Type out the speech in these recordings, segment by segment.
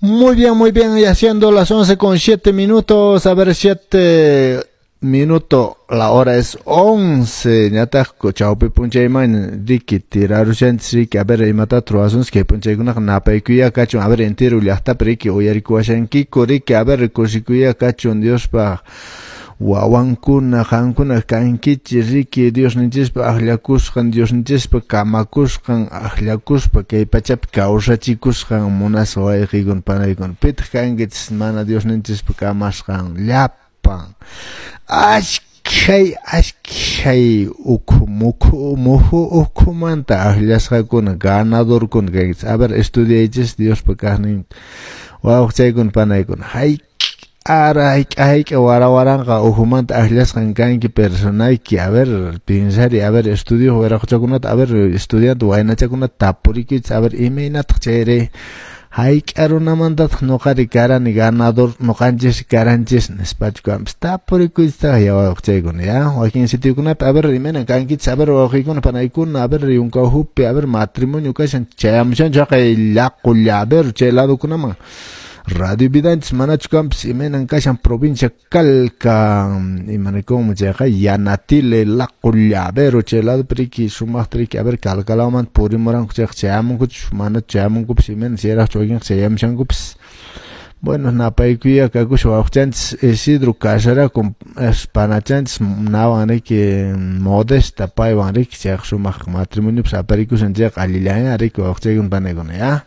Muy bien, ya siendo las 11:07, a ver, 7 minuto, la hora es 11, ñataq chawpi p'unchayman riki tirarushanchis riki, a ver, imatata ruwasunchis kay p'unchaykunaqa napaykuya kachun, a ver, entero llaqtapi riki uyarikuwashankiku riki, a ver, kusikuya kachun Diospaq wawankuna qankuna kankichis riki Diosninchispa akllakusqan, Diosninchispa kamakusqan, akllakuspa kay pachapi kawsachikusqan munasqa wayqiykuna panaykuna. Pitaq kankichis mana Diosninchispa kamasqan? Llapan ashkhay ashkhay ukhu mukhu muhu ukhumanta akllasqakuna, ganadorkuna kankichis. A ver, estudiaychis Diospa kaqnin wawqichaykuna panaykuna, hayk'a ara hayk'a hayk'a wara waranqa ukhumanta akllasqan kanki personayki. A ver, pensari, a ver, estudio wiraquchakunata, a ver, estudiante waynachakunata tapurikuychis, a ver, imaynataq chayri, hayk'a runamantataq ñuqari karani ganador, ñuqanchis karanchis nispachu kanpas, tapurikuychistaq ya wawqichaykuna ya. Wakin sitiokunapi, a ver, imaynan kankichis, a ver, wawqiykuna panaykuna, a ver, yunkawhupi, a ver, matrimonio kashan, chayamushanchu haqay llaqu llavero chay ladokunaman Radio Vidanchis, manachu kanpas? Imaynan kashan provincia Calca, imanikunmi chayqa Yanatile, Laqu, Llavero chay ladopi riki sumaqta riki, a ver, Calcalawmanta purimuranku chayqa chayamunkuchu, manachu chayamunkupis, imayna chayraqchu wakinqa chayamushankupis. Bueno, napaykuya kakusha wawqichanchis Isidro kasarakun panachanchis nawan riki Modesta, paywan riki chayqa sumaq matrimoniopas aparikushan chayqa allillanña riki wawqichaykuna panaykuna ya.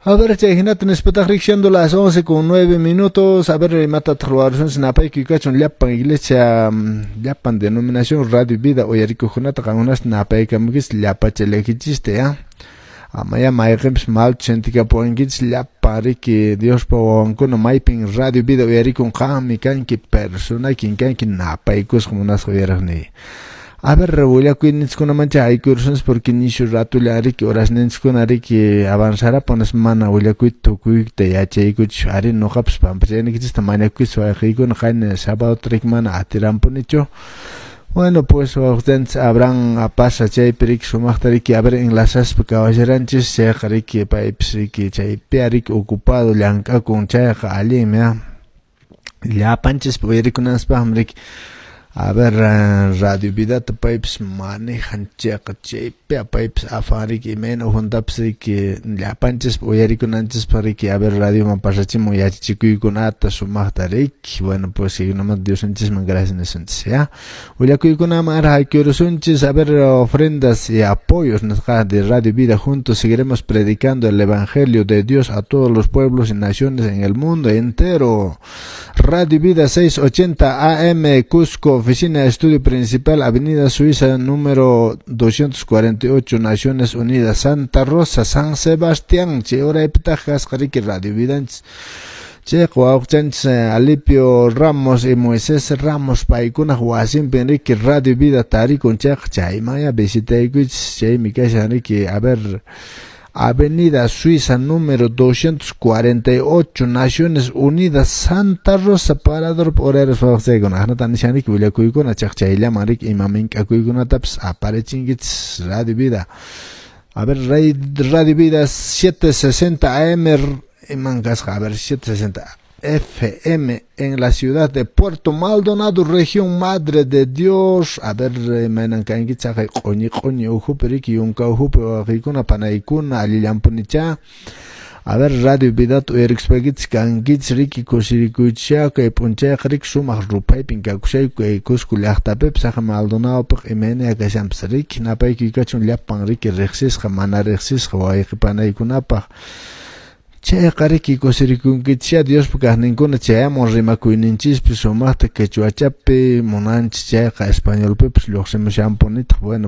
A ver, chay hinata nispataq riki siendo las 11:09, a ver, imatataq ruwarusunchis, napaykuy kachun llapan iglesia, llapan denominación Radio Vida uyarikuqkunata, qankunasta napaykamukichis llapachalakichista ya. Amaya mayqinpis malta sentikapuwankichis, llapan riki Diospa wawankuna maypin Radio Vida uyarikun, qanmi kanki personaykin kanki napaykusqa munasqa uyariqniy. A ver, willakuyninchikkunamancha aykurusunchis porque nishu ratulla riki horasninchikkuna riki avanzarapunas, mana willakuyta tukuyta yachaykuchu ari ñuqapas pampachaynikichista mañakuychis wayqiykuna, qayna sábado riki mana atirampunichu. Bueno, pues wawqichanchis Abraham apasa chaypi riki sumaqta riki, a ver, enlazaspa kawasharanchis chayqa riki paypis riki chaypi riki ocupado llank'akun chayqa allinmi llapanchispa uyarikunanchispaqmi riki. A ver, Radio Vidata paypis manejan chayqa chaypi paypis afan riki imayna ukhuntapas riki llapanchispa uyarikunanchispaq riki, a ver, radioman pasachimun yachachikuykunata sumaqta riki. Bueno, pues chaykunamanta Diosninchisman gracias nisunchis ya. Willakuykunaman ara haykurusunchis, a ver, ofrendas y apoyos nisqa de Radio Vida. Juntos seguiremos predicando el evangelio de Dios a todos los pueblos y naciones en el mundo entero. Radio Vida 680 AM Cusco, oficina estudio principal, Avenida Suiza número 248, Naciones Unidas, Santa Rosa, San Sebastián. Chay uraypitaq kasqa riki Radio Vidanchis. Chayqa wawqichanchis Alipio Ramos y Moisés Ramos paykunaq wasinpi riki Radio Vida tarikun chayqa chaymanya visitaykuychis, chaymi kashan riki, a ver, Avenida Suiza número 248, Naciones Unidas, Santa Rosa, Parador horarios wawqichaykuna aqnata nishan riki willakuykuna chaq chayllaman riki ima mink'akuykunatapas aparichinkichis Radio Vida. A ver, Radio Vida 760 AM iman kasqa, a ver, 760 FM en la ciudad de Puerto Maldonado, región Madre de Dios. A ver, imaynan kankichis haqay q'uñi q'uñi ukhupi riki yunka ukhupi wawqiykuna panaykuna, allillampunichá. A ver, Radio Vidata uyarikuspaykichisqa kankichis riki kusirikuychisha kay p'unchayqa riki sumaq ruphaypin kakushayku kay Cusco llaqtapipis haqay Maldonadopiqa imayna kashanpas riki napaykuy kachun llapan riki riqsisqa mana riqsisqa wayqi panaykunapaq. Chayqa riki kusirikunkichishá Diospa kaqninkuna chayamun rimakuyninchispi sumaqta quechuachapi munanchis chayqa españolpipas lluqsimushanpunitaq. Bueno.